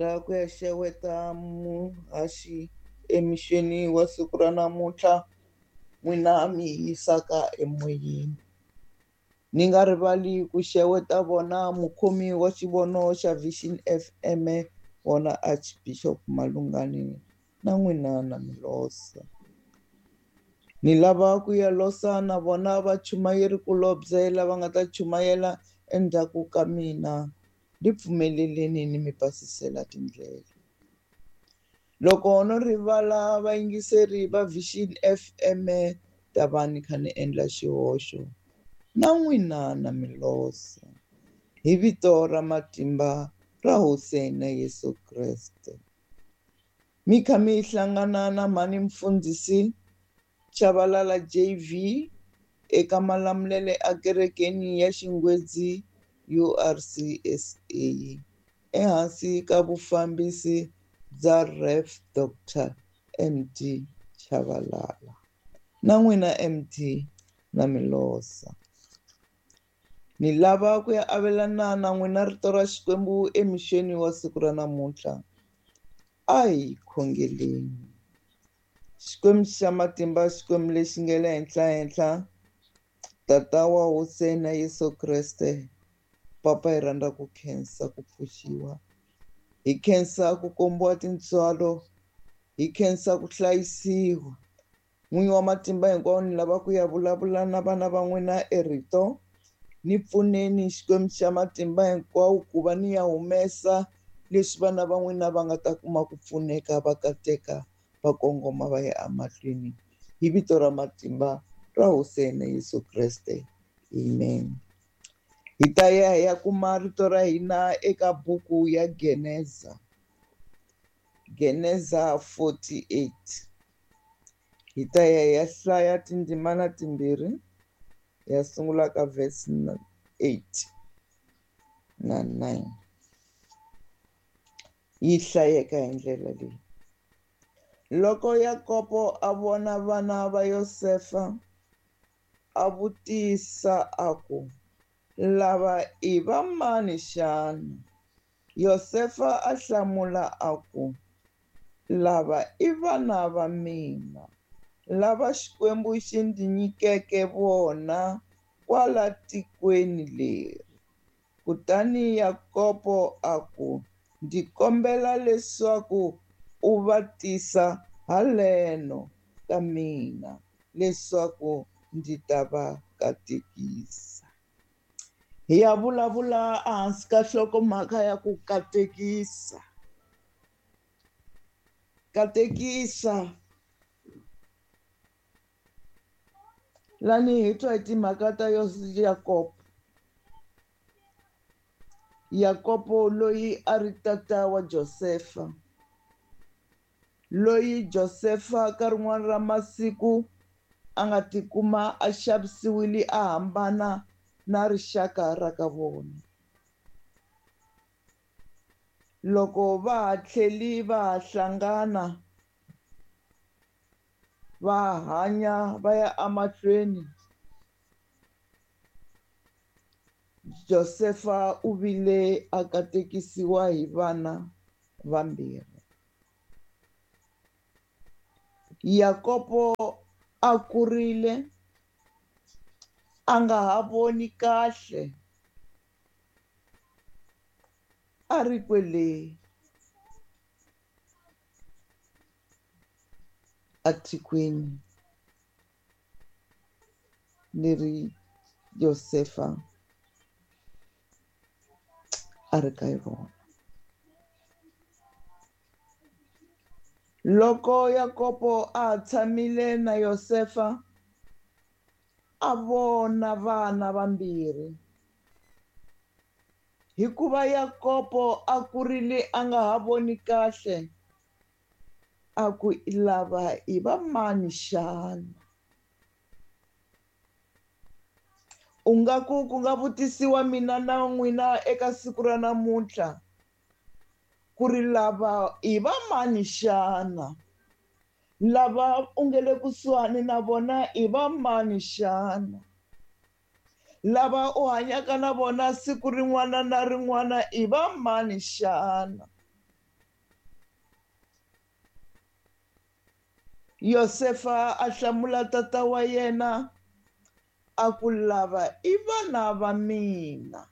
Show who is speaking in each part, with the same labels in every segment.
Speaker 1: Lava ku ya xeweta muhaxi emixeni wa siku ra namuntlha n'wina mi yisaka emoyeni. Ni nga rivali ku xeweta vona mukhomi wa xivono xa Vision FM vona Archbishop Malungani na n'wina na Milosa. Ni lava ku ya losa na vona vachumayeri kulobye lava nga ta chumayela endzhaku ka mina ni pfumeleleni ni mi pasisela tindlela. Loko no rivala vayingiseri va Vision FM ta va ni kha ni endla xihoxo na n'wina na Milosa hi vito ra matimba ra Hosi ya hina Yesu Kreste. Mi kha mi hlangana na mhani mfundhisi Chabalala JV eka Malamulele ekerekeni ya Xingwedzi URCSA ehansi ka vufambisi bya Rev Dr MD Chabalala na n'wina MD na Milosa. Ni lava ku ya avelana na n'wina rito ra Xikwembu emixeni wa siku ra namuntlha. A hi khongeleni. Xikwembu xa matimba, Xikwembu lexi nga le henhla-henhla, Tata wa Hosi ya hina Yesu Kreste, Papa hi rhandza ku khensa ku pfuxiwa, hi khensa ku kombiwa tintswalo, hi khensa ku hlayisiwa. N'winyi wa matimba hinkwawo, ni lava ku ya vulavula na vana va n'wina erito. Ni pfuneni Xikwembu xa matimba hinkwawo ku va ni ya humesa leswi vana va n'wina va nga ta kuma ku pfuneka, va kateka, va kongoma va ya emahlweni. Hi vito ra matimba ra Hosi ya hina Yesu Kreste. Amen. Hi ta ya hi ya kuma rito ra hina eka buku ya Geneza. Geneza 48. Hi ta ya hi ya hlaya tindzimana timbirhi. Ya sungula ka verse 8 na 9. Yi hlayeka hi ndlela leyi. Loko Yakobo a vona vana va Yosefa, a vutisa a ku, lava i va mani xana? Yosefa a hlamula a ku, lava i vana va mina, lava Xikwembu xi ndzi nyikeke vona kwala tikweni leri. Kutani Yakobo a ku, ndzi kombela leswaku u va tisa haleno ka mina, leswaku ndzi ta va katekisa. Hi ya vulavula ehansi ka nhlokomhaka ya ku katekisa. Katekisa. Lani hi twa hi timhaka ta Yakobo. Yakobo loyi a ri tata wa Josefa. Loyi Josefa ka rin'wana ra masiku a nga tikuma a xavisiwile a hambana na rixaka ra ka vona. Loko va ha tlheli va ha hlangana, va hanya va ya emahlweni, Josefa u vile a katekisiwa hi vana vambirhi. Yakobo a kurile, a nga ha voni kahle, a ri kwele atikweni leri Yosefa a ri ka rona. Loko Yakobo a tshamile na Yosefa, a vona vana vambirhi. Hikuva Yakobo a kurile a nga ha voni kahle, a ku lava i va mani xana? U nga ku ku nga vutisiwa mina na n'wina eka siku ra namuntlha ku ri lava i va mani xana? Lava u nge le kusuhani na vona i va mani xana? Lava u hanyaka na vona siku rin'wana na rin'wana i va mani xana? Yosefa a hlamula tata wa yena a ku, lava i vana va mina.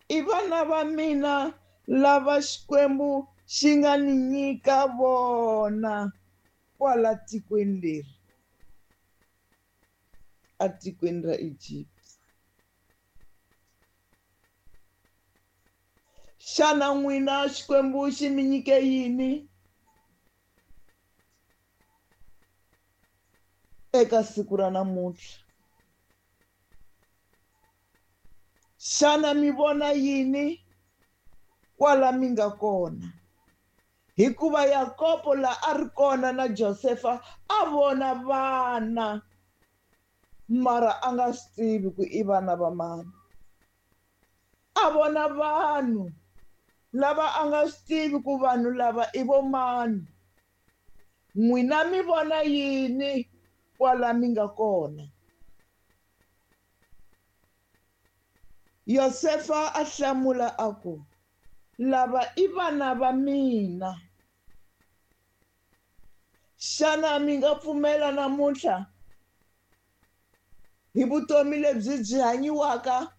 Speaker 1: I vana va mina lava Xikwembu xi nga ni nyika vona kwala tikweni leri, atikweni ra Egypt. Xana n'wina Xikwembu xi mi nyike yini eka siku ra namuntlha? Xana mi vona yini kwala mi nga kona? Hikuva Yakobo la a ri kona na Josefa a vona vana, mara a nga swi tivi ku i vana va mani. A vona vanhu lava a nga swi tivi ku vanhu lava i vo mani. N'wina mi vona yini kwala mi nga kona? Yosefa a hlamula a ku, lava i vana va mina. Xana mi nga pfumela namuntlha hi vutomi lebyi byi hanyiwaka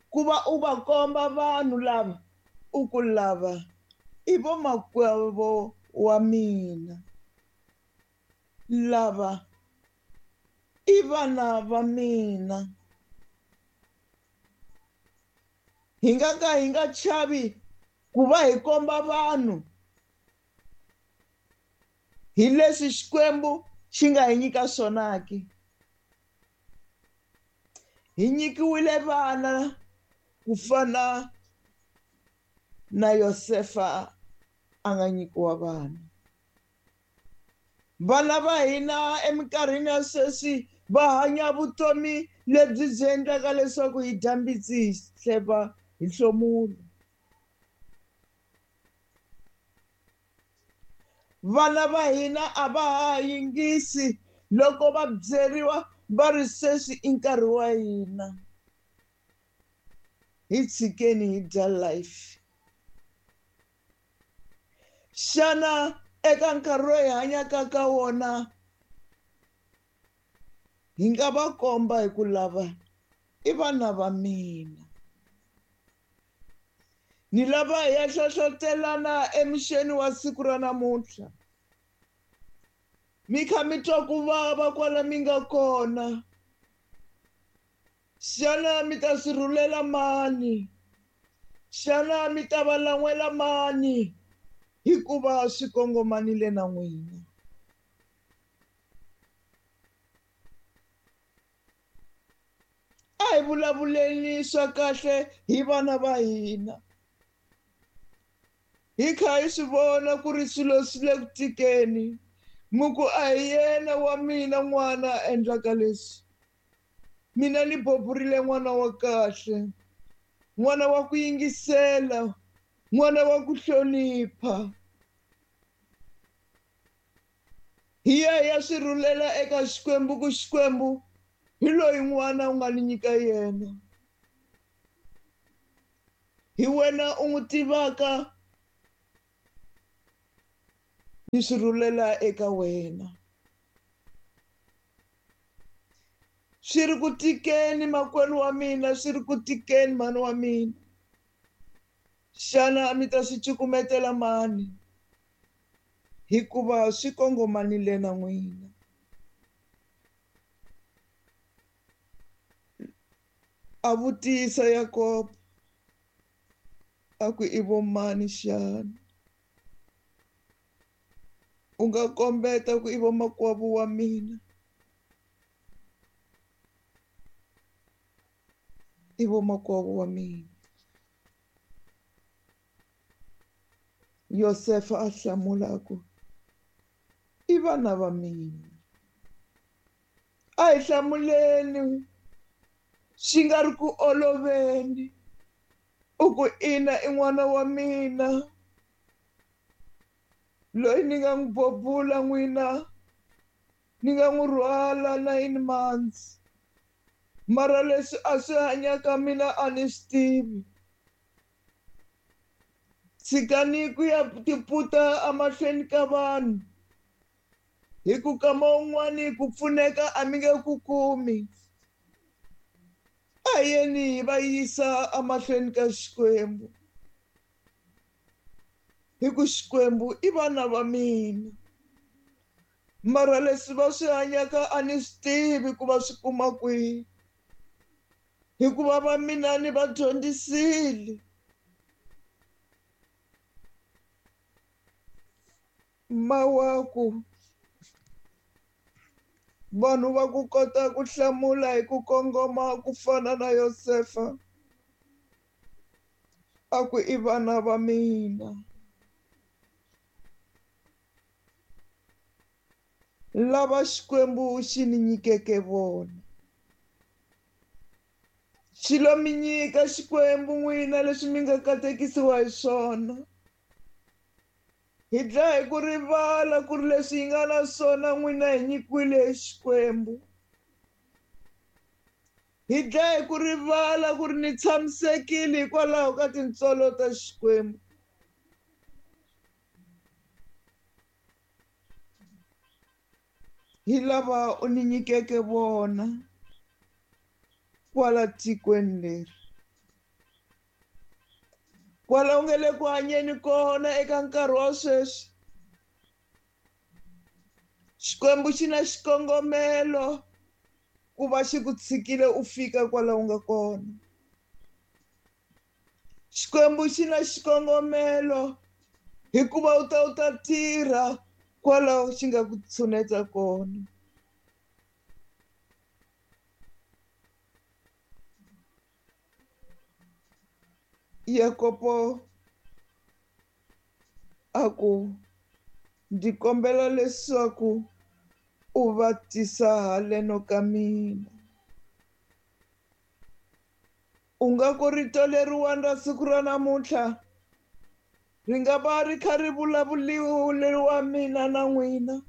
Speaker 1: ku va u va komba vanhu lava u ku lava i vomakwavo wa mina, lava i vana va mina? Hi nga ka hi nga chavi ku va hi komba vanhu hi leswi Xikwembu xi nga hi nyika swona ke. Hi nyikiwile vana ku fana na Yosefa a nga nyikiwa vana. Vana va hina eminkarhini ya sweswi va hanya vutomi lebyi byi endlaka leswaku hi dya mbitsi hi hleva hi hlomulo. Vana va hina a va ha yingisi loko va byeriwa va ri sweswi i nkarhi wa hina, hi tshikeni hi dya life. Xana eka nkarhi lowu hi hanyaka ka wona hi nga va komba hi ku lava i vana va mina? Ni lava hi ya hlohlotelana emixeni wa siku ra namuntlha. Mi kha mi twa ku vava kwala mi nga kona. Xana mi ta swi rhulela mani? Xana mi ta va lan'wela mani? Hikuva swi kongomanile na n'wina. A hi vulavuleni swa kahle hi vana va hina. Hi kha hi swi vona ku ri swilo swi le ku tikeni. Mi ku a hi yena wa mina n'wana a endlaka leswi. Mina ni boburile n'wana wa kahle, n'wana wa ku yingisela, n'wana wa ku hlonipha. Hi ya hi ya swi rhulela eka Xikwembu ku Xikwembu hi loyi n'wana u nga ni nyika yena. Hi wena u n'wi tivaka, ni swi rhulela eka wena. Swi ri ku tikeni makwenu wa mina, swi ri ku tikeni mhani wa mina. Xana mi ta swi cukumetela mani? Hikuva swi kongomanile na n'wina. A vutisa Yakobo a ku i vo mani xana? U nga kombeta ku i vomakwavo wa mina? I vomakwavo wa mina. Yosefa a hlamula a ku, i vana va mina. A hi hlamuleni swi nga ri ku oloveni. U ku ina i n'wana wa mina loyi ni nga n'wi bobula n'wina, ni nga n'wi rhwala 9 months. Mara leswi a swi hanyaka mina a ni swi tivi. Tshikani ku ya tiputa emahlweni ka vanhu, hi ku kama un'wani ku pfuneka a mi nge ku kumi. A yeni hi va yisa emahlweni ka Xikwembu, hi ku Xikwembu i vana va mina. Mara leswi va swi hanyaka a ni swi tivi ku va swi kuma kwihi, hikuva va mina ni va dyondzisile. Mawaku vanhu va ku kota ku hlamula hi ku kongoma ku fana na Yosefa, a ku i vana va mina. Lava Xikwembu xi ni nyikeke vona. Xi lo mi nyika Xikwembu n'wina leswi mi nga katekisiwa hi swona. Hi dlaya hi ku rivala ku ri leswi hi nga na swona n'wina hi nyikiwile hi Xikwembu. Hi dlaya hi ku rivala ku ri ni tshamisekile hikwalaho ka tintswalo ta Xikwembu. Hi lava u ni nyikeke vona kwala tikweni leri, kwala u nge le ku hanyeni kona eka nkarhi wa sweswi. Xikwembu xi na xikongomelo ku va xi ku tshikile u fika kwala u nga kona. Xikwembu xi na xikongomelo hikuva u ta tirha kwalaho xi nga ku tshuneta kona. Yakobo a ku, ndzi kombela leswaku u va tisa haleno ka mina. U nga ku rito leriwani ra siku ra namuntlha ri nga va ri kha ri vulavuriwa mina na n'wina,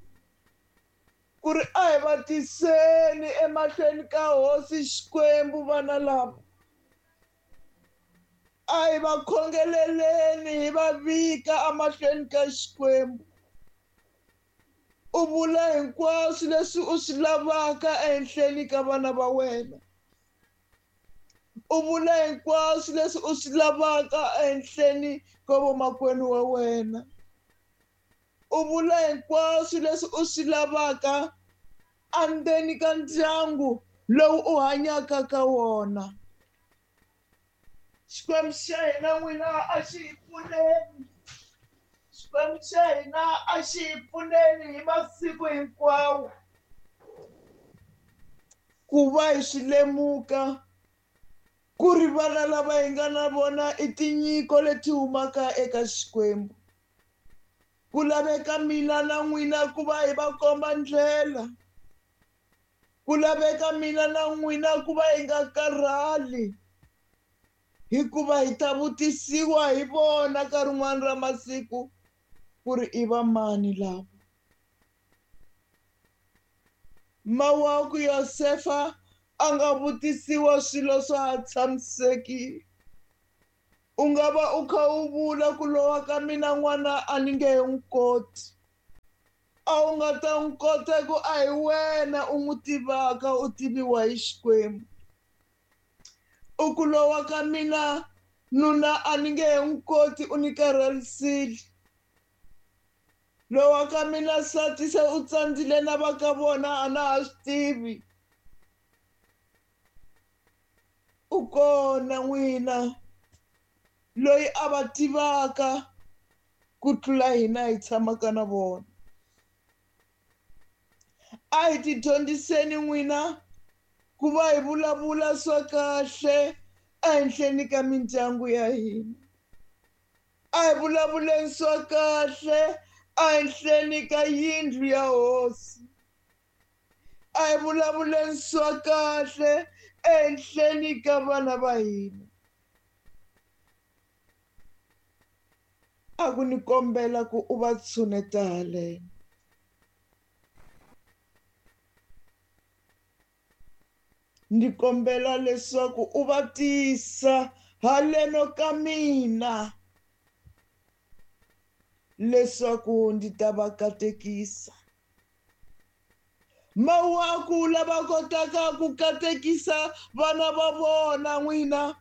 Speaker 1: ku ri a hi va tiseni emahlweni ka Hosi Xikwembu vana lava. A hi va khongeleleni hi va vika emahlweni ka Xikwembu. U vula hinkwaswo leswi u swi lavaka ehenhleni ka vana va wena. U vula hinkwaswo leswi u swi lavaka ehenhleni ka vomakwenu wa wena. U vula hinkwaswo leswi u swi lavaka endzeni ka ndyangu lowu u hanyaka ka wona. Xikwembu xa hina n'wina a xi hi pfuneni. Xikwembu xa hina a xi hi pfuneni hi masiku hinkwawo ku va hi swi lemuka ku ri vana lava hi nga na vona i tinyiko leti humaka eka Xikwembu. Ku laveka mina na n'wina ku va hi va komba ndlela. Ku laveka mina na n'wina ku va hi nga karhali, hikuva hi ta vutisiwa hi vona ka rin'wana ra masiku ku ri i va mani lava. Mawaku Yosefa a nga vutisiwa swilo swa ha tshamisekile. U nga va u kha u vula ku lowa ka mina n'wana a ni nge he n'wi koti. A wu nga ta n'wi kota ku a hi wena u n'wi tivaka, u tiviwa hi Xikwembu. U ku lowa ka mina nuna a ni nge he n'wi koti, u ni karhalisile. Lowa ka mina nsati se u tsandzile na va ka vona a na ha swi tivi. U kona n'wina loyi a va tivaka ku tlula hina hi tshamaka na vona. A hi tidyondziseni n'wina ku va hi vulavula swa kahle ehenhleni ka mindyangu ya hina. A hi vulavuleni swa kahle ehenhleni ka yindlu ya hosi. A hi vulavuleni swa kahle ehenhleni ka vana va hina. A ku ni kombela ku u va tshuneta haleno. Ndzi kombela leswaku u va tisa haleno ka mina. leswaku ndzi ta va katekisa. Mawaku lava kotaka ku katekisa vana va vona n'wina,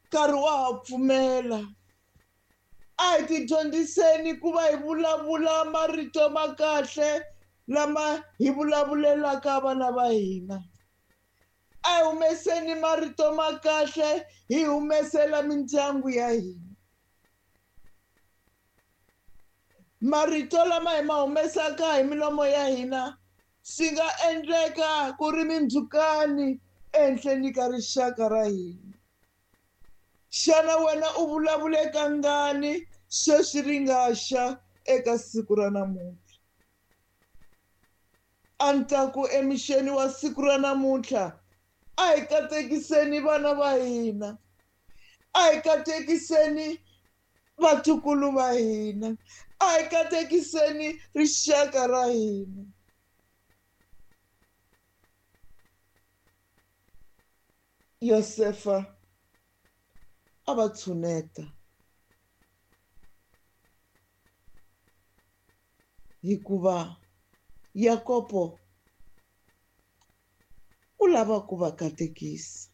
Speaker 1: nkarhi wa ha pfumela. A hi tidyondziseni ku va hi vulavula marito ma kahle lama hi vulavulelaka vana va hina. A hi humeseni marito ma kahle hi humesela mindyangu ya hina. Marito lama hi ma humesaka hi milomo ya hina swi nga endleka ku ri mindzhukani ehenhleni ka rixaka ra hina. Xana wena u vulavule kangani sweswi ri nga xa eka siku ra namuntlha? A ni ta ku emixeni wa siku ra namuntlha, a hi katekiseni vana va hina, a hi katekiseni vatukulu va hina, a hi katekiseni rixaka ra hina. Yosefa a va tshuneta hikuva Yakobo u lava ku va katekisa.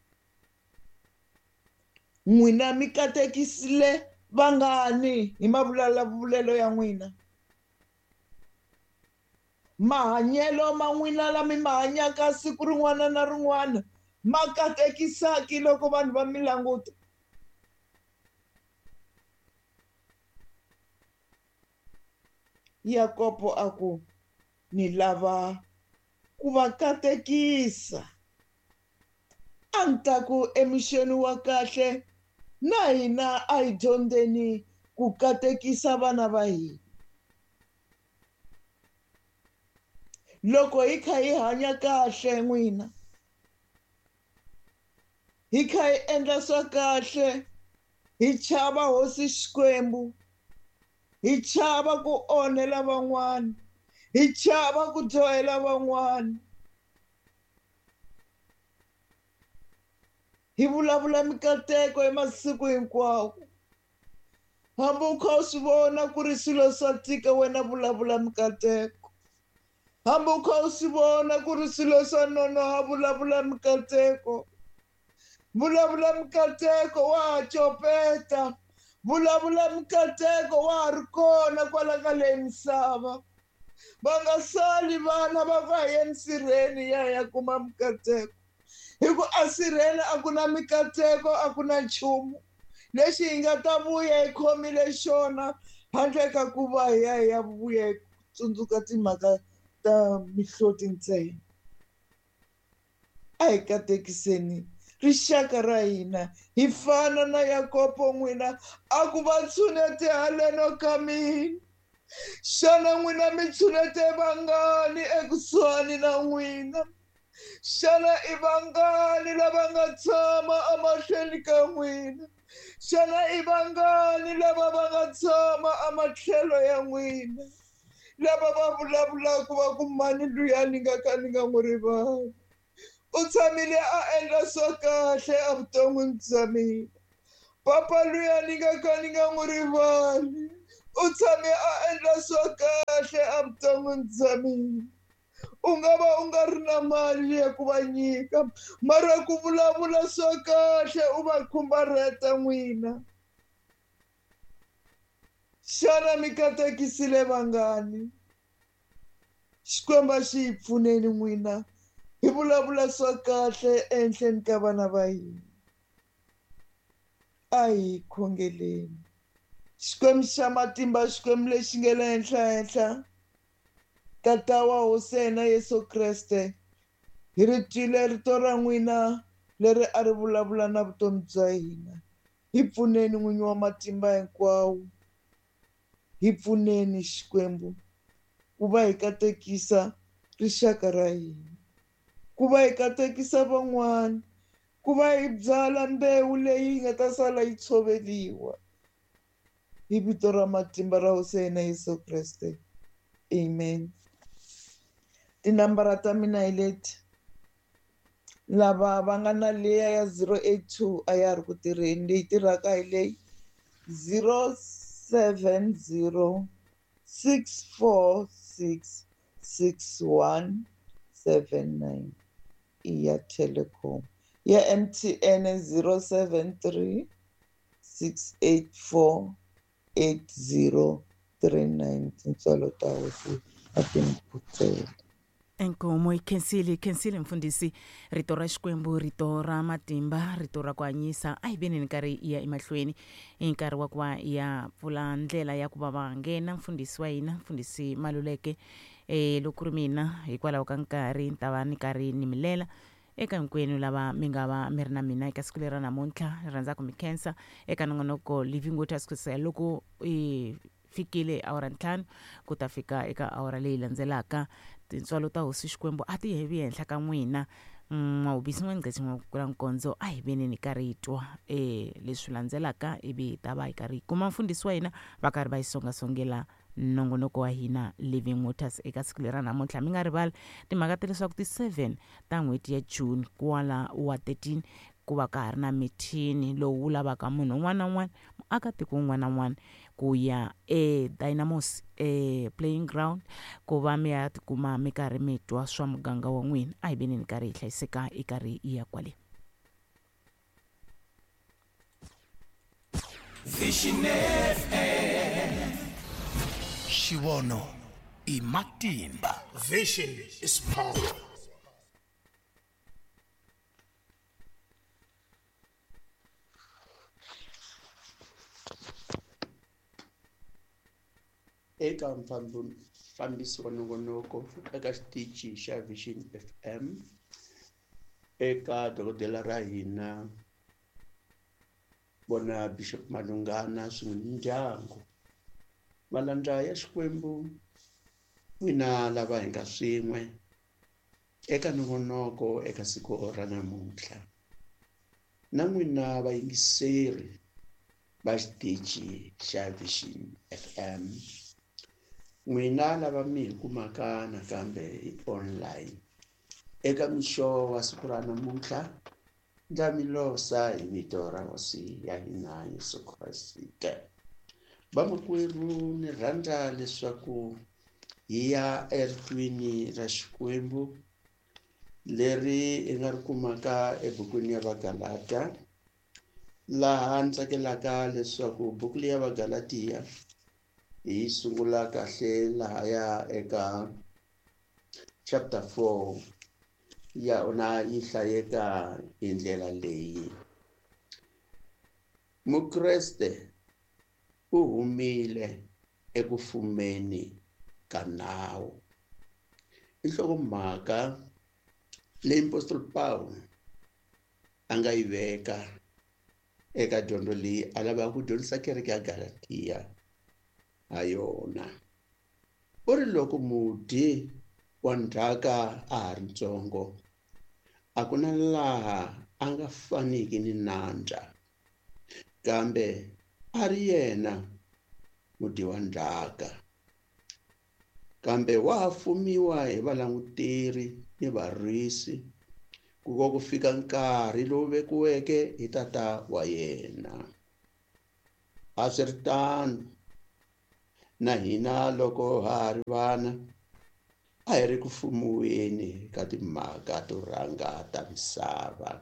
Speaker 1: N'wina mi katekisile vangani hi mavulavulelo ya n'wina? Mahanyelo ma n'wina lama mi ma hanyaka siku rin'wana na rin'wana ma katekisaki loko vanhu va mi languta? Yakobo a ku, ni lava ku va katekisa. A ni ta ku emixeni wa kahle na hina a hi dyondzeni ku katekisa vana va hina. Loko hi kha hi hanya kahle n'wina, hi kha hi endla swa kahle, hi chava Hosi Xikwembu, hi chava ku onhela van'wana, hi chava ku dyohela van'wana, hi vulavula mikateko hi masiku hinkwawo. Hambi u kha u swi vona ku ri swilo swa tika, wena vulavula mikateko. Hambi u kha u swi vona ku ri swilo swa nonoha, vulavula mikateko. Vulavula mikateko, wa ha copeta. Vulavula mikateko, wa ha ri kona kwala ka leyi misava. Va nga sali vana va ku a hi yeni sirheni ya ya kuma mikateko, hi ku a sirheni a ku na mikateko, a ku na nchumu lexi hi nga ta vuya hi khomile xona handle ka ku va hi ya hi ya vuya hi tsundzuka timhaka ta mihloti ntsena. A hi katekiseni rixaka ra hina, hi fana na Yakobo n'wina a ku va tshunete haleno ka mina. Xana n'wina mi tshunete vangani ekusuhani na n'wina? Xana i vangani lava nga tshama emahlweni ka n'wina? Xana i vangani lava va nga tshama ematlhelo ya n'wina? Lava va vulavulaka va ku mani luya ni nga ka ni nga n'wi rivali, u tshamile a endla swa kahle evuton'wini bya mina. Papa luya ni nga ka ni nga n'wi rivali, u tshame a endla swa kahle evuton'wini bya mina. U nga va u nga ri na mali ya ku va nyika, mara ku vulavula swa kahle u va khumbarheta n'wina. Xana mi katekisile vangani? Xikwembu a xi hi pfuneni n'wina hi vulavula swa kahle ehenhleni ka vana va hina. A hi khongeleni. Xikwembu xa matimba, Xikwembu lexi nga le henhla henhla, Tata wa Hosi ya hina Yesu Kreste, hi ri twile rito ra n'wina leri a ri vulavula na vutomi bya hina. Hi pfuneni N'winyi wa matimba hinkwawo, hi pfuneni Xikwembu ku va hi katekisa rixaka ra hina, ku va hi katekisa van'wana, ku va hi byala mbewu leyi nga ta sala yi tshoveriwa. Hi vito ra matimba ra Hosi ya hina Yesu Kreste, amen. Tinambara ta mina hi leti. Lava va nga na leya ya 082 a ya ri ku tirheni, leyi tirhaka hi leyi 70 646 6179 i ya Telkom. Ya MTN 073 684 8039. Tintswalo ta hosi a ti mi phutsela.
Speaker 2: Inkomo yi khensile, yi khensile mfundhisi. Rito ra Xikwembu, rito ra matimba, rito ra ku hanyisa. A hi veni ni nkarhi ya emahlweni i nkarhi wa ku va ya pfula ndlela ya ku va va nghena mfundhisi wa hina, mfundhisi Maluleke. Loko ku ri mina hikwalaho ka nkarhi ni ta va ni karhi ni mi lela eka hinkwenu lava mi nga va mi ri na mina eka siku leri ra namuntlha. Ni rhandza ku mi khensa eka nongonoko Living Waters kusukela loko i fikile awara 5 ku ta fika eka awara leyi landzelaka. Tintswalo ta hosi Xikwembu a ti hevi henhla ka n'wina. N'wawubisi n'wangqethi n'wakula nkondzo, a hi veni ni karhi hi twa leswi landzelaka ivi hi ta va hi karhi hi kuma mfundhisi wa hina va karhi va yi songasongela nongonoko wa hina Living Waters eka siku leri ra namuntlha. Mi nga rivali timhaka ta leswaku ti 7 ta n'hweti ya June kwala wa 13 ku va ka ha ri na mithini lowu wu lavaka munhu un'wana na un'wana, muakatiko un'wana na un'wana ku ya e Dynamos e playing ground ku va mi ya tikuma mi karhi mi twa swa muganga wa n'wina. A hi veni ni karhi hi hlayiseka hi karhi hi ya kwale.
Speaker 3: Vision FM. Xivono i matimba.
Speaker 4: Vision is power.
Speaker 5: Eka mfambisi wa nongonoko eka xitichi xa Vision FM, eka dokodela ra hina vona Bishop Malungana swin'we ni ndyangu, malandza ya Xikwembu n'wina lava hi nga swin'we eka nongonoko eka siku ra namuntlha, na n'wina vayingiseri va xitichi xa Vision FM, n'wina lava mi hi kumaka nakambe hi online eka mixo wa siku ra namuntlha, ndza mi losa hi vito ra Hosi ya hina Yesu Kreste. Vamakwerhu, ni rhandza leswaku hi ya eritweni ra Xikwembu leri hi nga ri kumaka ebukwini ya Vagalata, laha ni tsakelaka leswaku buku leyi ya Vagalatiya hi sungula kahle lahaya eka chapter 4 ya ona yi hlayeka hi ndlela leyi. Mukreste u humile eku fumeni ka nawu. I nhlokomhaka leyi Apostol Paul a nga yi veka eka dyondzo leyi a lavaka ku dyondzisa kereke ya Galatiya ha yona. U ri loko mudyi wa ndzhaka a ha ri ntsongo, a ku na laha a nga faniki ni nandza, kambe a ri yena mudyi wa ndzhaka. Kambe wa ha fumiwa hi valanguteri ni varisi ku ko ku fika nkarhi lowu vekiweke hi tata wa yena. A swi ri tano na hina loko ha ha ri vana, a hi ri ku fumiweni ka timhaka to rhanga ta misava.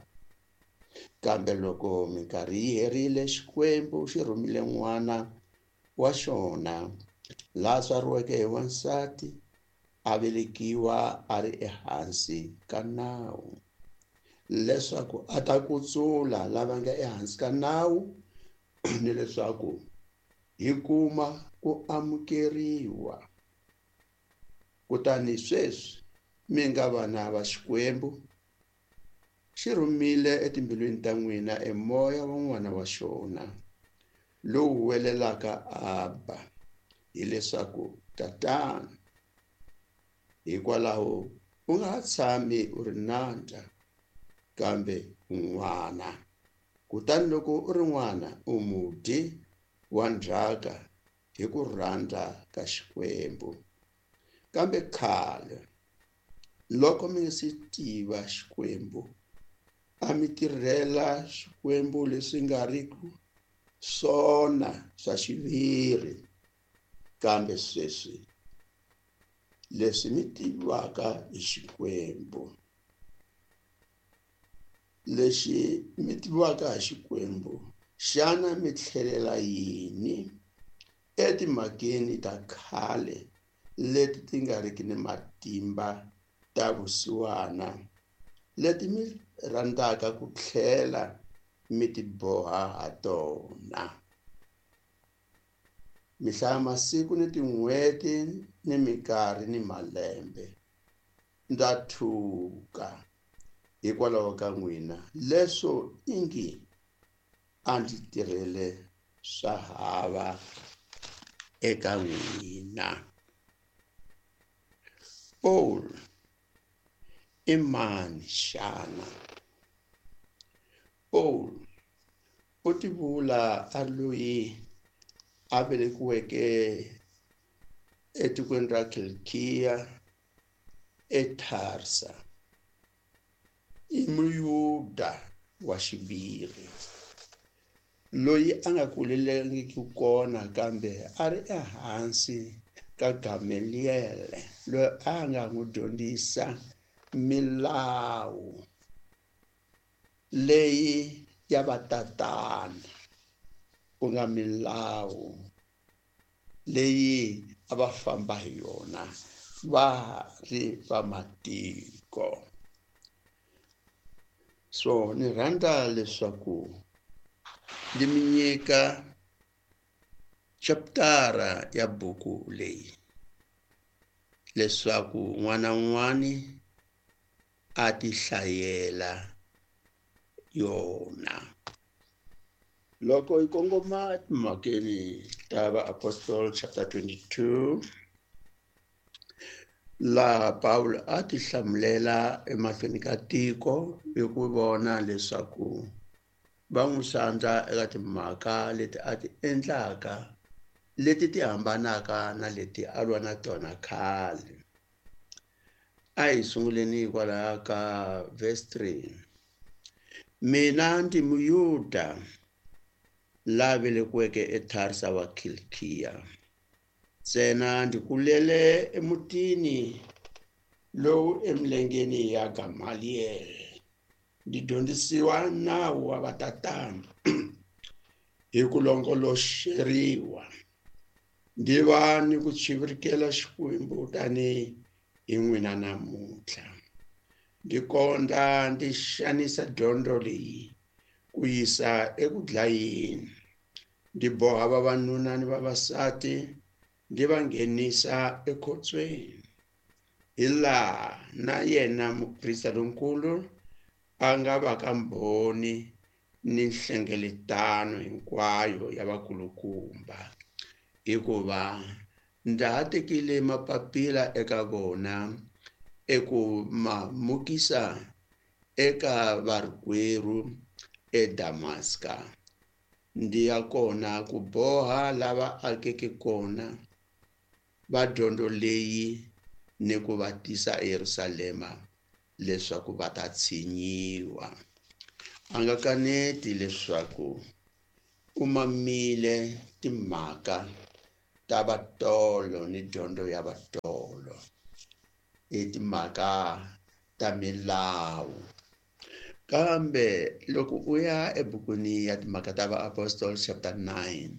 Speaker 5: Kambe loko minkarhi yi herile, Xikwembu xi rhumile n'wana wa xona la tswariweke hi wansati, a velekiwa a ri ehansi ka nawu, leswaku a ta kutsula lava nga ehansi ka nawu, ni leswaku hi kuma ku amukeriwa. Kutani sweswi mi nga vana va Xikwembu, xi rhumile etimbilwini ta n'wina emoya wa n'wana wa xona lowu welelaka Abba, hileswaku Tatana. Hikwalaho u nga ha tshami u ri nandza, kambe n'wana. Kutani loko u ri n'wana, u mudyi wa ndzhaka hi ku rhandza ka Xikwembu. Kambe khale loko mi nga si tiva Xikwembu, a mi tirhela swikwembu leswi nga ri ku swona swa xiviri, kambe sweswi leswi mi tiviwaka hi Xikwembu, lexi mi tiviwaka hi Xikwembu, xana mi tlhelela yini etimhakeni ta khale leti ti nga riki ni matimba ta vusiwana, leti mi rhandzaka ku tlhela mi ti boha ha tona? Mi hlaya masiku ni tin'hweti ni minkarhi ni malembe. Ndza thuka hikwalaho ka n'wina, leswo ingi a ndzi tirhele swa hava eka n'wina. Paul i mani xana? Paul u tivula a loyi a velekiweke etikweni ra Kilikiya eTarsa. I Muyuda wa xiviri loyi a nga kulelangiki kona, kambe a ri ehansi ka Gamaliel loyi a nga n'wi dyondzisa milawu leyi ya vatatana, ku nga milawu leyi a va famba hi yona va ri va matiko. So ni rhandza leswaku ndzi mi nyika chaptara ya buku leyi leswaku n'wana un'wani a ti hlayela yona. Loko hi kongoma timhakeni ta Vaapostoli chapter 22, laha Pawulo a ti hlamulela emahlweni ka tiko hi ku vona leswaku va n'wi sandza eka timhaka leti a ti endlaka leti ti hambanaka na leti a lwa na tona khale. A hi sunguleni hikwalaho ka verse 3. Mina ndzi Muyuda la velekiweke eTarsa wa Kilikiya, ntsena ndzi kulele emutini lowu emilengeni ya Gamaliel, ndzi dyondzisiwa nawu wa vatatana hi ku longoloxeriwa, ndzi va ni ku chivirikela Xikwembu tanihi hi n'wina namuntlha. Ndzi kondza ndzi xanisa dyondzo leyi ku yisa eku dlayeni, ndzi boha vavanuna ni vavasati, ndzi va nghenisa ekhotsweni, hi laha na yena muprista lonkulu a nga va ka mbhoni ni nhlengeletano hinkwayo ya vakulukumba, hikuva ndza ha tekile mapapila eka vona eku ma mukisa eka varikwerhu eDamaska. Ndzi ya kona ku boha lava akeke kona va dyondzo leyi ni ku va tisa eYerusalema leswaku va ta tshinyiwa. A nga kaneti leswaku u mamile timhaka ta vatolo ni dyondzo ya vatolo, i timhaka ta milawu. Kambe loko u ya ebukwini ya timhaka ta Vaapostoli chapter 9,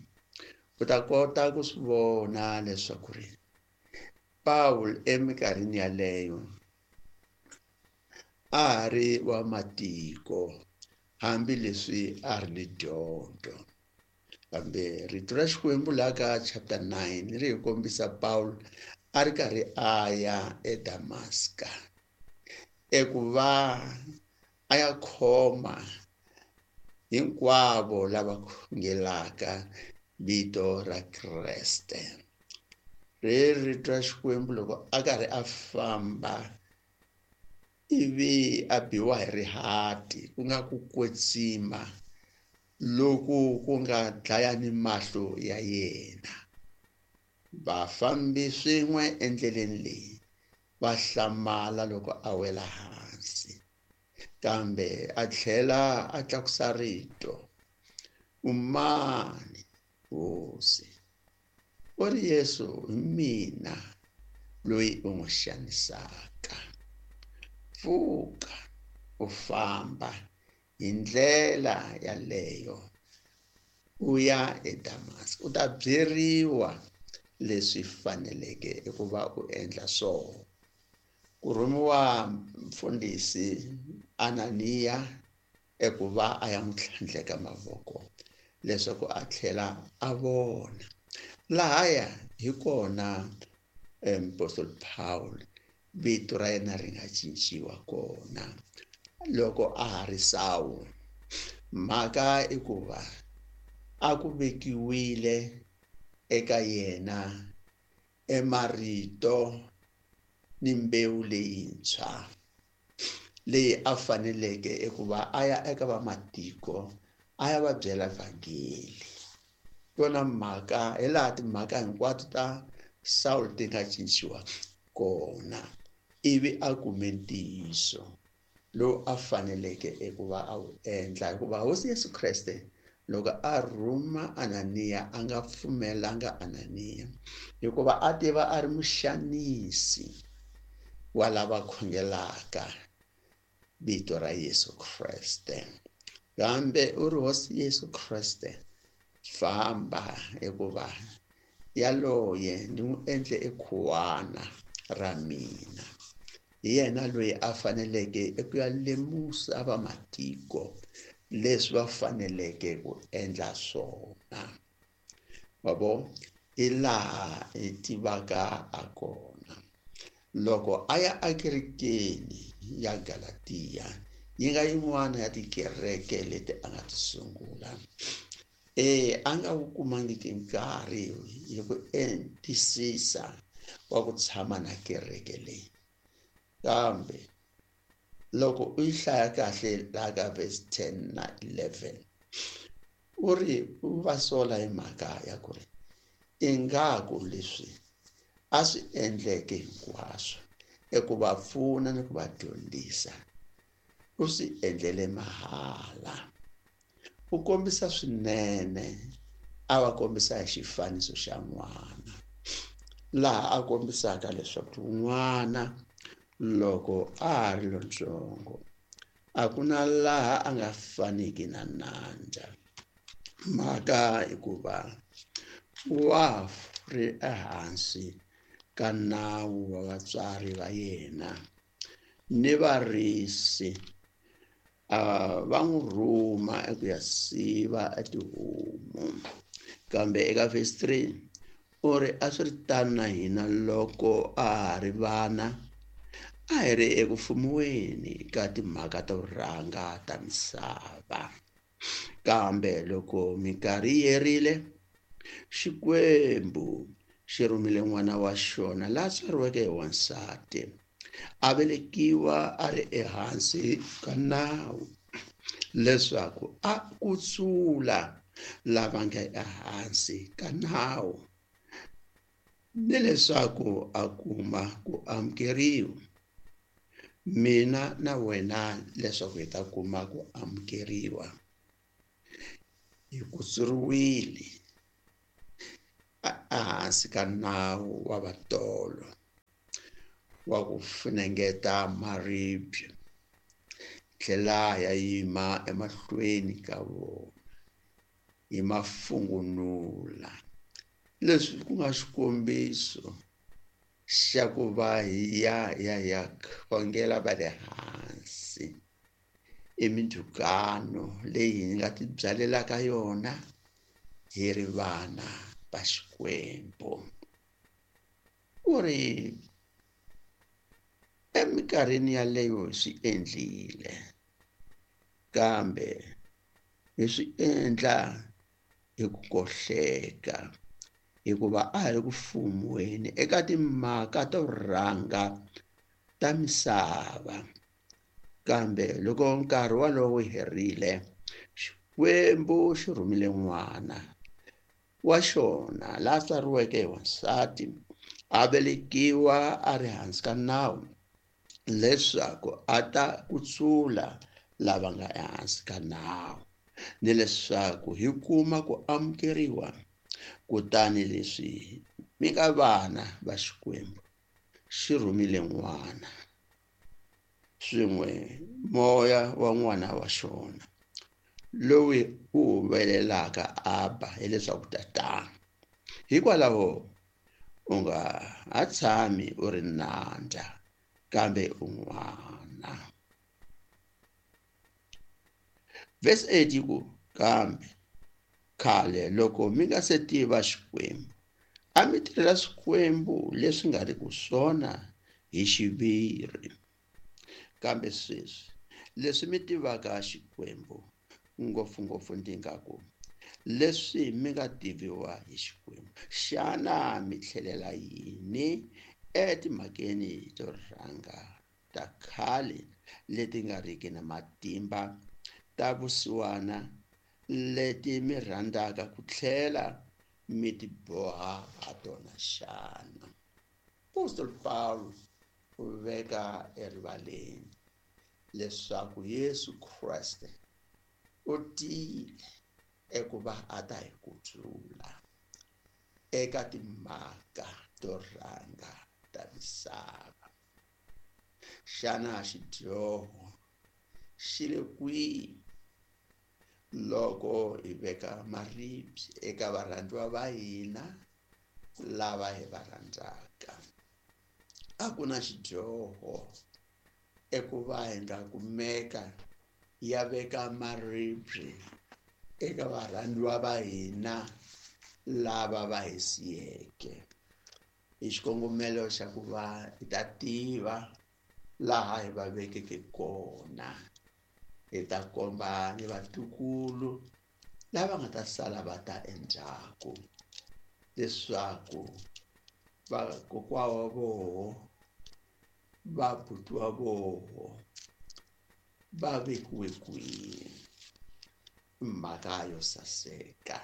Speaker 5: u ta kota ku swi vona leswaku ri Pawulo eminkarhini yaleyo a ha ri wa matiko, hambileswi a ri ni dyondzo. Kambe rito ra Xikwembu laha ka chapter 9 ri hi kombisa Pawulo a ri karhi a ya eDamaska eku va a ya khoma hinkwavo lava khongelaka vito ra Kreste. Ri rito ra Xikwembu loko a karhi a famba ivi a biwa hi rihati, ku nga ku kwetsima loku ku nga dlaya ni mahlo ya yena. Vafambi swin'we endleleni leyi va hlamala loko a wela hansi, kambe a tlhela a tlakusa rito. U mani, Hosi? U ri, Yesu, hi mina loyi u n'wi xanisaka. Pfuka u famba hi ndlela yaleyo u ya eDamaska, u ta byeriwa leswi faneleke eku va u endla swona. Ku rhumiwa mfundhisi Ananiya eku va a ya n'wi tlhandleka mavoko leswaku a tlhela a vona. Lahaya hi kona Apostle Paul vito ra yena ri nga cinciwa kona loko a ha ri Sawulo. Mhaka i ku va a ku vekiwile eka yena emarito ni mbewu leyintshwa leyi a faneleke eku va a ya eka vamatiko a ya va byela vhangeli. Yona mhaka hi laha timhaka hinkwato ta Saul ti nga cinciwa kona, ivi a kume ntiyiso lowu a faneleke eku va a wu endla, hikuva Hosi Yesu Kreste loko a rhuma Ananiya a nga pfumelanga Ananiya, hikuva a tiva a ri muxanisi wa lava khongelaka vito ra Yesu Kreste. Kambe u ri, Hosi Yesu Kreste, famba, hikuva yaloye ni n'wi endle ekhuwana ra mina. Hi yena loyi a faneleke eku ya lemusa vamatiko leswi va faneleke ku endla swona. Wa vo, hi laha hi tivaka a kona. Loko a ya ekerekeni ya Galatiya, yi nga yin'wana ya tikereke leti a nga ti sungula, a nga wu kumangiki nkarhi hi ku entisisa wa ku tshama na kereke leyi. Kambe loko u yi hlaya kahle laha ka verse 10 na 11, u ri u va sola hi mhaka ya ku ri ingaku leswi a swi endleke hinkwaswo eku va pfuna ni ku va dyondzisa u swi endlele mahala. U kombisa swinene, a va kombisa hi xifaniso xa n'wana, laha a kombisaka leswaku n'wana loko a ha ri lontsongo a ku na laha a nga faniki na nandza. Mhaka hikuva wa ri ehansi ka nawu wa vatswari va yena ni varisi, va n'wi rhuma eku ya siva etihomu. Kambe eka verse 3 u ri, a swi ri tano na hina loko a ha ri vana, a hi ri eku fumiweni ka timhaka to rhanga ta misava. Kambe loko minkarhi yi herile, Xikwembu xi rhumile n'wana wa xona la tswariweke hi wansati, a velekiwa a ri ehansi ka nawu, leswaku a kutsula lava nga ehansi ka nawu, ni leswaku a kuma ku amukeriwa. Mina na wena leswaku hi ta kuma ku amukeriwa, hi kutsuriwile ehansi ka nawu wa vatolo wa ku funengeta maribye, tlhela ya yima emahlweni ka vona hi mafungunula. Leswi ku nga xikombiso xa ku va hi ya ya ya khongela va le hansi i mindzhukano leyi hi nga tibyalelaka yona hi ri vana va Xikwembu. U ri eminkarhini yaleyo hi swi endlile, kambe hi swi endla hi ku kohleka, hikuva a hi ri ku fumiweni eka timhaka to rhanga ta misava. Kambe loko nkarhi walowo wu herile, Xikwembu xi rhumile n'wana wa xona la tswariweke hi wansati, a velekiwa a ri hansi ka nawu, leswaku a ta kutsula lava nga ehansi ka nawu, ni leswaku hi kuma ku amukeriwa. Kutani leswi mi nga vana va Xikwembu, xi rhumile n'wana swin'we moya wa n'wana wa xona, loyi wu humelelaka Abba, hileswaku tatana. Hikwalaho u nga ha tshami u ri nandza, kambe u n'wana. Verse 8 yi ku, kambe khale loko mi nga se tiva Xikwembu, a mi tirhela swikwembu leswi nga ri ku swona hi xiviri. Kambe sweswi leswi mi tivaka Xikwembu, ngopfungopfu ndzi nga ku leswi mi nga tiviwa hi Xikwembu, xana mi tlhelela yini etimhakeni to rhanga ta khale leti nga riki na matimba, ta vusiwana, leti mi rhandzaka ku tlhela mi ti boha ha tona xana? Apostol Paul u veka erivaleni leswaku Yesu Kreste u tile ekuva a ta hi kutsula eka timhaka to rhanga ta misava. Xana xidyoho xi le kwihi loko hi veka maribye eka varhandziwa va hina lava hi va rhandzaka? A ku na xidyoho ekuva hi nga kumeka ya veka maribye eka varhandziwa va hina lava va hi siyeke, hi xikongomelo xa ku va hi ta tiva laha hi va vekeke kona, hi ta komba ni vatukulu lava nga ta sala va ta endzhaku leswaku vakokwa wa voho, vabuti wa voho va vekiwe kwihi. Mhaka yo saseka,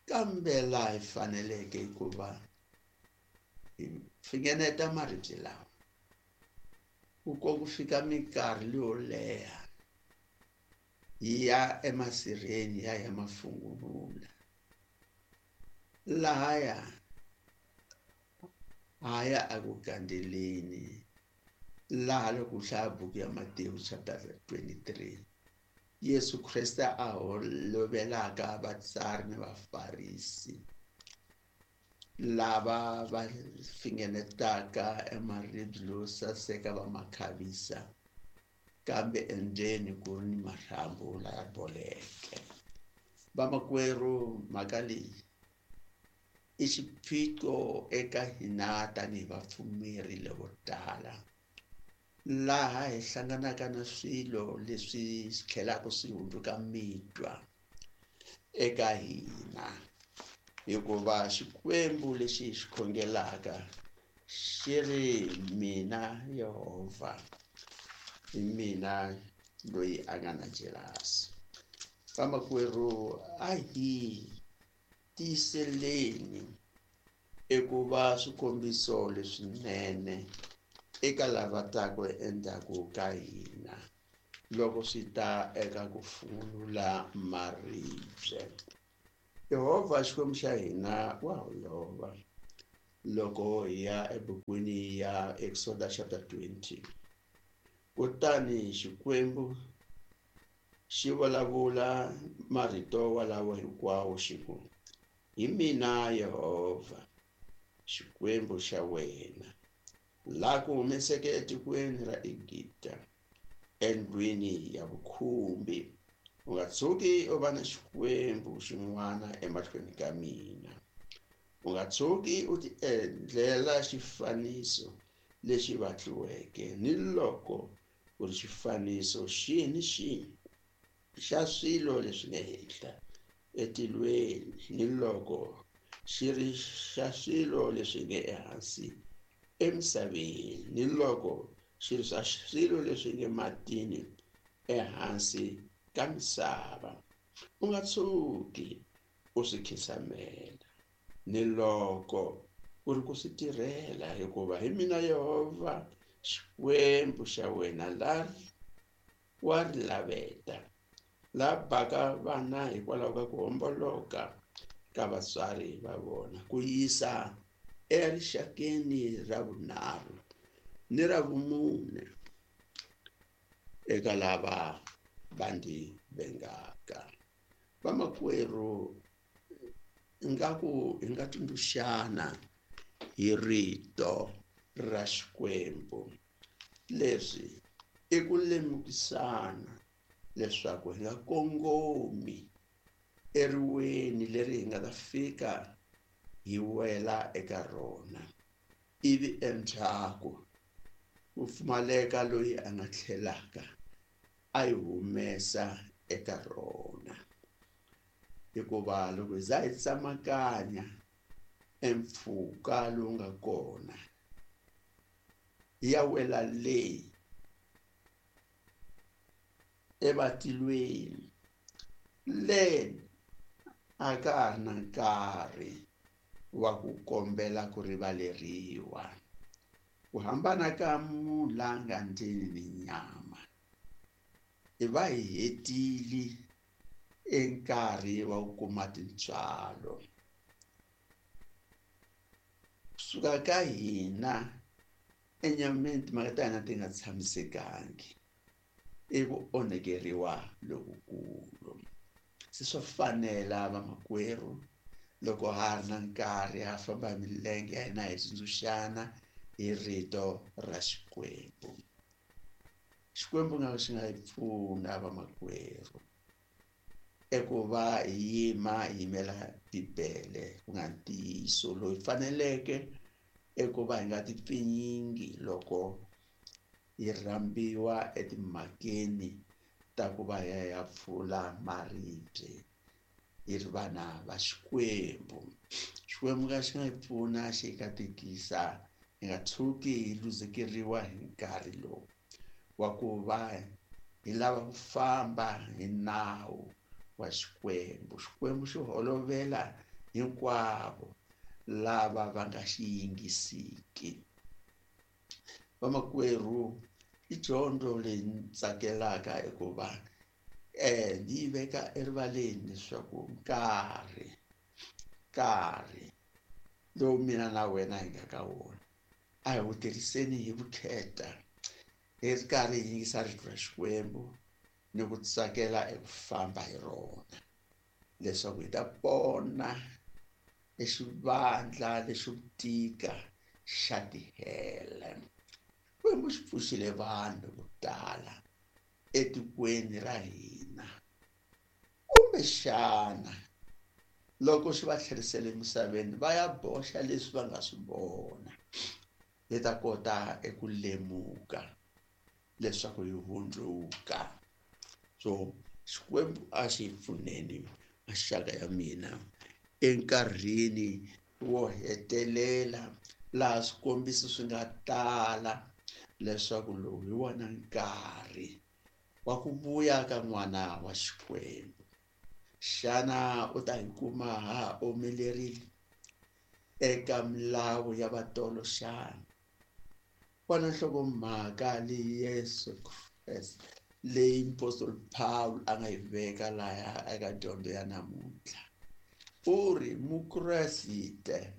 Speaker 5: kambe laha hi faneleke ku va hi fingeneta maribye lawa ku ko ku fika minkarhi leyo leha hi ya emasirheni ya ya mafungunula, lahaya haya eku gandzeleni, laha loko u hlaya buku ya Matewu chapter 23, Yesu Kreste a holovelaka vatsari ni vafarisi lava va fingenetaka emaribye lowo saseka va ma khavisa, kambe endzeni ku ri ni marhambu laya boleke. Vamakwerhu, mhaka leyi i xiphiqo eka hina tanihi vapfumeri lavo tala, laha hi hlanganaka na swilo leswi swi tlhelaka swi hundzuka mitwa eka hina, hikuva Xikwembu lexi hi xi khongelaka xi ri mina Yehovha, hi mina loyi a nga na jelasi. Vamakwerhu, a hi tiyiseleni ekuva swikombiso leswinene eka lava taka endzhaku ka hina loko swi ta eka ku fungunula maribye. Yehovha Xikwembu xa hina wa holova. Loko hi ya ebukwini ya Exodus chapter 20, kutani Xikwembu xi vulavula marito walawo hinkwawo xi ku, hi mina Yehovha Xikwembu xa wena, la ku humeseke etikweni ra Egipta, endlwini ya vukhumbi. U nga tshuki u va na xikwembu xin'wana emahlweni ka mina. U nga tshuki u ti endlela xifaniso lexi vatliweke, ni loko ku ri xifaniso xihi ni xihi xa swilo leswi nga henhla etilweni, ni loko xi ri xa swilo leswi nge ehansi emisaveni, ni loko xi ri swa swilo leswi nge matini ehansi ka misava. U nga tshuki u swi khinsamela, ni loko ku ri ku swi tirhela, hikuva hi mina Yehovha Xikwembu xa wena la wa ri laveta, La baka vana hikwalaho ka ku homboloka ka vatswari va vona, ku yisa erixakeni ra vunharhu ni ra vumune eka lava va ndzi vengaka. Vamakwerhu, ingaku hi nga tsundzuxana hi rito ra Xikwembu. Leswi i ku lemukisana leswaku hi nga kongomi eriweni leri hi nga ta fika hi wela eka rona, ivi endzhaku ku pfumaleka loyi a nga tlhelaka a yi humesa eka rona. Hikuva loko hi za hi tsamakanya empfhuka lowu nga kona hi ya wela leyi evatilweni, le a ka ha ri na nkarhi wa ku kombela ku rivaleriwa. Ku hambana ka munhu la nga ndzeni ni nyama, hi va hi hetile enkarhi wa ku kuma tintswalo. Kusuka ka hina enyameni timhaka ta hina ti nga tshamisekangi, i ku onhekeriwa lokukulu. Se swa fanela vamakwerhu, loko ha ri na nkarhi ha famba hi milenge ya hina hi tsundzuxana hi rito ra Xikwembu. Xikwembu nga xi nga hi pfuna vamakwerhu eku va hi yima hi yimela Bibele, ku nga ntiyiso loyi faneleke eku va hi nga tipfinyingi loko hi rhambiwa etimhakeni ta ku va hi ya pfula maribye hi ri vana va Xikwembu. Xikwembu nga xi nga hi pfuna xi hi katekisa, hi nga tshuki hi luzekeriwa hi nkarhi lowu wa ku va hi lava ku famba hi nawu wa Xikwembu. Xikwembu xi holovela hinkwavo lava va nga xi yingisiki. Vamakwerhu, i dyondzo leyi ni tsakelaka hikuva ni yi veka erivaleni leswaku nkarhi lowu mina na wena hi nga ka wona a hi wu tirhiseni hi vukheta, hi ri karhi hi yingisa rito ra Xikwembu ni ku tsakela eku famba hi rona, leswaku hi ta pona exivandla lexo tika xa tihele. Xikwembu xi pfuxile vanhu vo tala etikweni ra hina, kumbexana loko xi va tlherisele emisaveni va ya boxa leswi va nga swi vona, hi ta kota eku lemuka leswaku hi hundzuka. So Xikwembu a xi hi pfuneni maxaka ya mina enkarhini wo hetelela laha swikombiso swi nga tala leswaku lowu hi wona nkarhi wa ku vuya ka n'wana wa Xikwembu. Xana u ta hi kuma ha omelerile eka milawu ya vatolo xana? Vona nhlokomhaka leyi Yesu Kreste leyi Apostoli Paul a nga yi veka laya eka dyondzo ya namuntlha. U ri Mukreste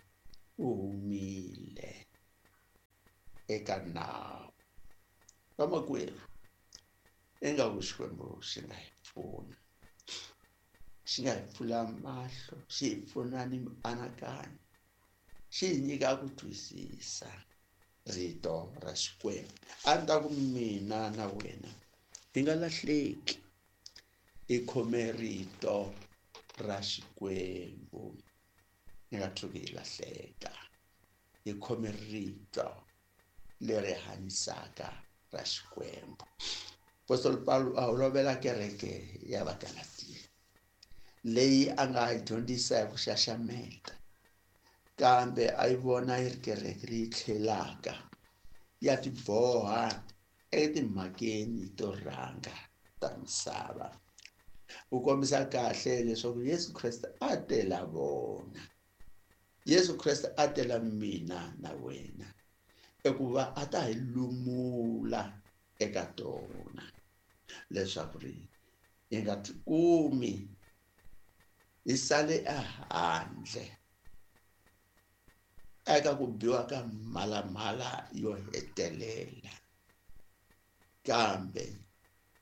Speaker 5: u humile eka nawu. Vamakwerhu, ingaku Xikwembu xi nga hi pfuna, xi nga hi pfula mahlo, xi hi pfuna ni mianakanyo, xi hi nyika ku twisisa rito ra Xikwembu. A ni ta ku mina na wena hi nga lahleki, hi khome rito ra Xikwembu, hi nga tshuki hi lahleka, hi khome rito leri hanyisaka ra Xikwembu. Apostoli Paulo a holovela kereke ya Vagalatiya leyi a nga yi dyondzisa hi ku xaxameta, kambe a yi vona yi ri kereke leyi tlhelaka ya tiboha etimhakeni to rhanga ta misava. U kombisa kahle leswaku Yesu Kreste a tela vona, Yesu Kreste a tela mina na wena ekuva a ta hi lumula eka tona, leswaku ri Hi nga tikumi hi sale ehandle eka ku biwa ka mhalamhala yo hetelela, kambe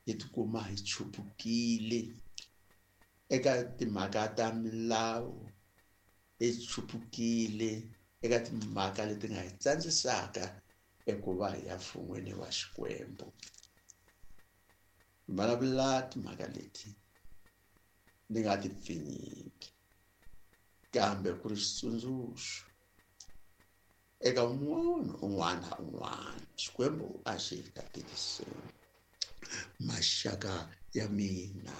Speaker 5: hi tikuma hi chupukile eka timhaka ta milawu, hi chupukile eka timhaka leti nga hi tsandzisaka eku va hi ya mfun'weni wa Xikwembu. Vulavula timhaka leti ni nga ti pfinyingi, kambe ku ri xitsundzuxo eka munhu un'wana na un'wana. Xikwembu a xi katekiseni maxaka ya mina.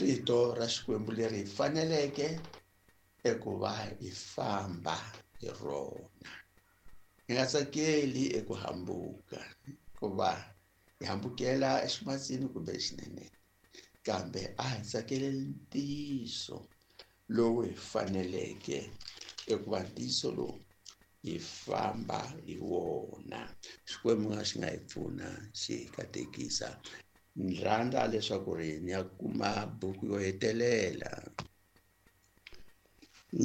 Speaker 5: Rito ra Xikwembu leri hi faneleke eku va hi famba hi rona, hi nga tsakeli eku hambuka, hikuva hi hambukela eximatsini kumbe exineneni, kambe a hi tsakeleli ntiyiso lowu hi faneleke eku va ntiyiso lowu hi famba hi wona. Xikwembu nga xi nga hi pfuna, xi hi katekisa. Ni rhandza leswaku ri ni ya kuma buku yo hetelela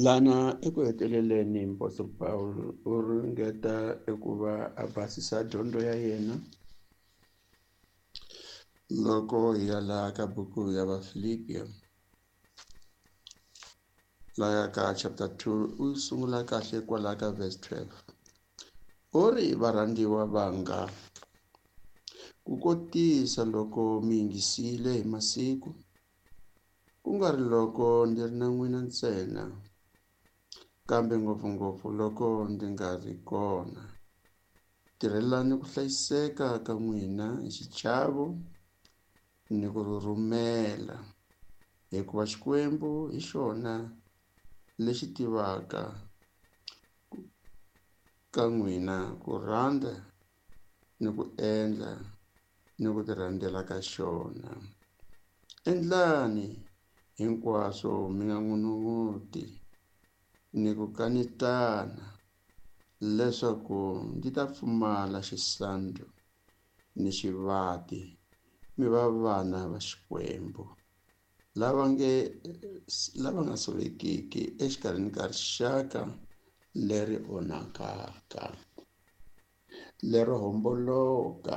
Speaker 5: lana eku heteleleni. Apostle Paul u ringeta eku va a basisa dyondzo ya yena loko hi ya laha ka buku ya Vafilipiya, laya ka chapter 2, u sungula kahle kwala ka verse 12. U ri, varhandziwa vanga, ku kotisa loko mi yingisile hi masiku, ku nga ri loko ndzi ri na n'wina ntsena, kambe ngopfungopfu loko ndzi nga ri kona, tirhelani ku hlayiseka ka n'wina hi xichavo ni ku rhurhumela, hikuva Xikwembu hi xona lexi tivaka ka n'wina ku rhandza ni ku endla ni ku tirhandzela ka xona. Endlani hinkwaswo mi nga n'unun'uti ni ku kanetana, leswaku ndzi ta pfumala xisandzu ni xivati, mi va vana va Xikwembu lava nga solekiki exikarhini ka rixaka leri onhakaka, lero homboloka,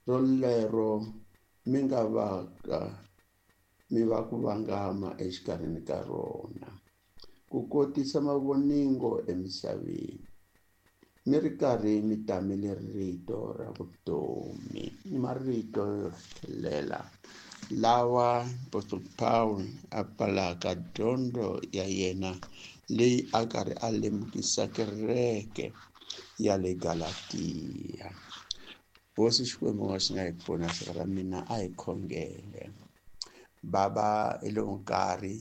Speaker 5: rolero mi nga vaka mi va ku vangama exikarhini ka rona, ku kotisa mavoningo emisaveni, mi ri karhi mi tamele rito ra vutomi. I marito yo hetelela lawa Apostle Paul a pfalaka dyondzo ya yena leyi a karhi a lemukisa kereke ya le Galatiya. Hosi Xikwembu nga xi nga hi pfuna, xaka ra mina a hi khongele. Baba, hi lowu nkarhi